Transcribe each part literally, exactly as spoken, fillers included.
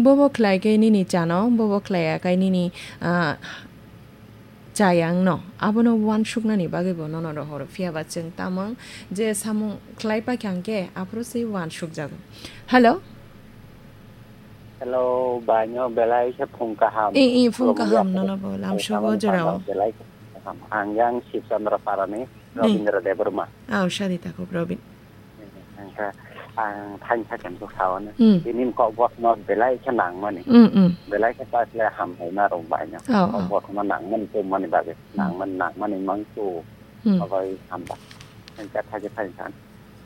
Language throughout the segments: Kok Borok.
Bobo khlai khe nini chano, bobo khlai ya khe nini, ah, chayang no. Abono uansuknani bagwi bo nono rohoro. Phiya ba chwng tamo je samung khlai paikha hwnkhe aphuru se uansukjago. Hello? Hello, baino belai khe phung kaham. I, i, phung kaham, khulumya nono bo, lamsogo jorao. Belai khe phung kaham. Ang yang Sibchandra Parani, Robindra Debbarma. Aw, sadi takhuk Robin. Hingkhe ang thaisa khe bwkha-o no. Hmm. Tini kok bosno belai khe nangmani. Hmm, hmm. Belai khe ta khlai hamlaima rok baino. Oh, kok bosno nangmani tongmani bagwi. Hmm. Nangmani, nangmani mangtu. Hmm. Abai hamba. Hingkhe thaisa thaisa.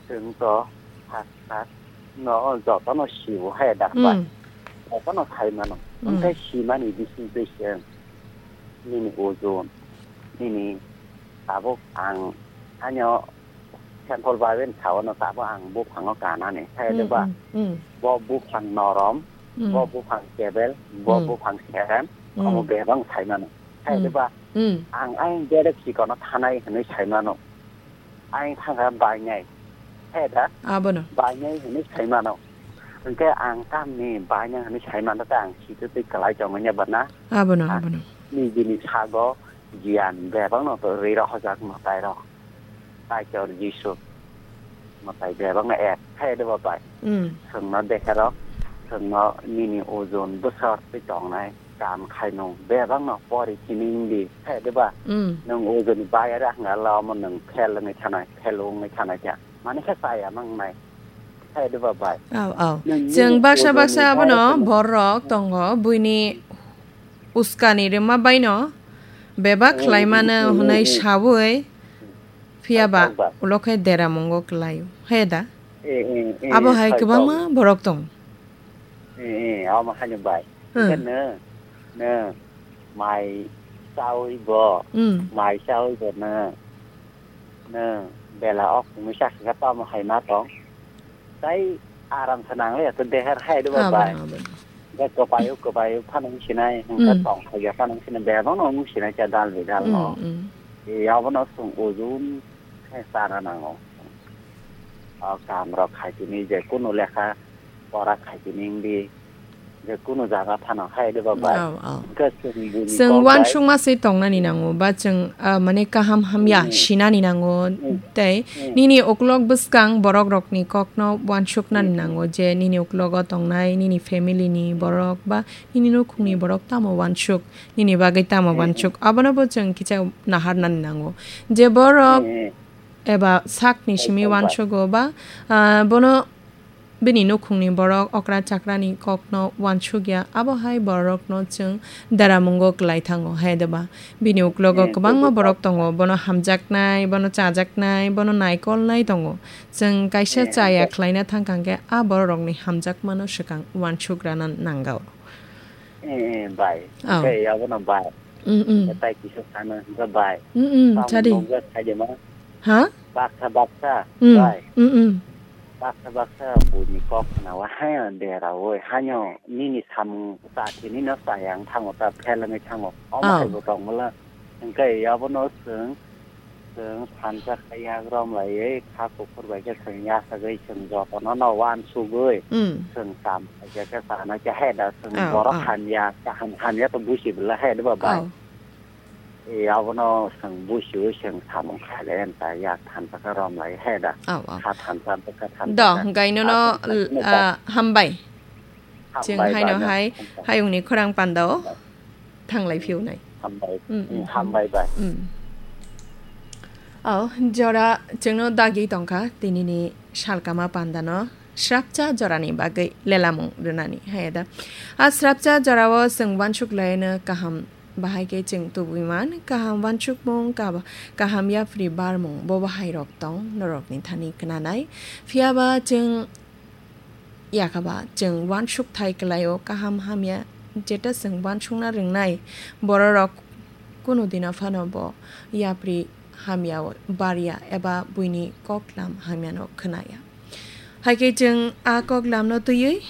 Chwng to sak sak no jotono sio hai da bai. Hmm. Jotono sai mano. Hmm. Hingkhe simani bising twi se nini ojon, nini tabuk ang ano Sengkol bai bai sao no tabuk ang buphango kanani. Hai de ba? Mm, mm, mm. Bo buphang norom, mm, bo buphang kebel, bo, mm, buphang serem, mm, omo bebang sai mano. Hai de, mm, ba? Mm. Ang ayang berek chikono thanai hinui sai mano. Ayang thangkha bainai. Hai da? Abono. Bainai hinui sai mano. Hingke ang tamni bainai hinui sai mano ta ang sitwi twi kwlai tongmani ba na? Abono, ang abono. Nijini sago giyan bebakno to rwi rohorjak mwtai rok. Kaitor Jisu mwtai bebakno ek khe de bo bai. Mm. Chwngno deherok, chwngno nini ojon bwswk twi tongnai kam khainung bebakno pori sini wngdi khe de ba. Mm. Nwng ojoni bayari hwnga la omo nwng fail wngwi thanai, fail wngwi thanai khe. Mani khe chaya mangnai khe de ba bai. Aw, aw. Nwng chwng nini baksa ojoni baksa abono bayari borok tongo buini uskani rwma baino bebak, mm, khlaimano, mm, hwnwi, mm, saui, phiya ba, saijak ba, ulo khe deramungo kwlaio, he da? Eh, eh, eh, abo hai saijak kwbangma borok tong. Eh, eh, amo haino bai. Hmm. Hwnkhe nw, nw mai chaui bo, hmm, mai chaui bo nw, nw bela ok mui sakha tamo hai ma tong. Tai aram se nang le to deher hai de ba, abono, bai. Abono. Ga kwpaio, kwpaio phano wng sinai, hwnkhe, mm, tong phaiya phano wng sinai, bebak no wng sinai cha dal bidal no. Mm, mm. E, abono chwng ujun khe chana nango. O kam rok khai tini je kunu lekha pora khai tini wngdi, je kunu jaga phano hai de ba bai. Au, au. Hwnkhe chwng bini chwng kok bai uansukma se tongnani nango, ba chwng, ah, mane kaham hamya, mm, sinani nango, mm, tei, mm, nini uklok bwskang borok rokni kokno uansuknani, mm, mm, nango, je nini uklogo tongnai nini family ni borok ba nini nukhungni, mm, borok tamo uansuk, nini bagwi tamo, mm, mm, uansuk, abono bo chwng kisa naharnani nango. Je borok, mm, mm, eba sakni simi, ekdom bai, uansugo ba, ah, bono bini nukhungni borok okra chakrani kokno uansukya, abo hai borokno chwng deramungo kwlai thango, hai de ba? Bini uklogo, eh, kwbangma, tei borok tongo, bono hamjaknai, bono chajaknai, bono naikolnai tongo. Chwng kaisa, eh, chaya, hwnkhe khlaina thangkha hwnkhe a bororokni hamjakmano swkang uansukrana nangao. Eh, eh, bai. Oh. Hwnkhe abono bai. Mm, mm. Hwnkhe tai kisa sano hwnkhe bai. Mm, mm, tamo chadi. Nukjak khaidima. Ha? Baksa, baksa, mm, bai. Mm, mm. Baksa baksa buini kok khnawa haino deraui, haino nini samung chathini no chaya wng thango ta, fail wngwi thango. Omo, oh, hai bo tongmolo. Hwnkhe abono chwng, chwng thansa khe yak romlaiwi kha kuphur bai khe chwng yachagwi chwng jotono no uansugwi, mm, chwng cham khaijak khe chanai khe hai da chwng, oh, borok, oh, hamya, kaham hamya to busi bwla hai da ba bai. Oh. E, abono chwng busiwi chwng samung khailai ta yak thansa khe romlai he da. Au, au. Kha thansa bwkha thansa. Do, khe hwnkhe nono, ah, hambai. Hambai, chwng haino bai, no, hai, hambai. Hayungni khorang pandao thanglai phiunai. Hambai. Mm, mm, mm, hambai bai. Mm. Au, jora chwngno dagi tongkha tinini salkama pandano. Srapcha jorani bagwi lelamung rwnani, hai da. A srapcha jorao chwng uansuk laino kaham. Bahai khe chwng tubui man, kaham uansukmung, kaba-, kaham yapri barmung, bo bahairok tong, norokni thani khnanai. Phiya ba chwng yakha ba chwng uansuk thai kwlaio, kaham hamya, jeta chwng uansukna rwngnai bororok kunu dino phano bo yapri hamya o barya eba buini koklam hamyano khnaya. Hai khe chwng a koklamno twiwi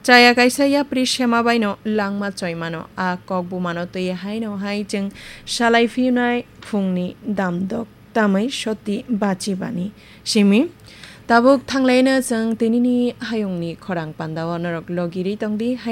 chaya kaisa yapri sema baino langma choimano. A kok bumano twiwi haino hai chwng salai phiunai phungni damdok tamwi soti bachibani simi. Tabuk thanglaino chwng tinini hayungni khorang pandao norok logirwi tongdi.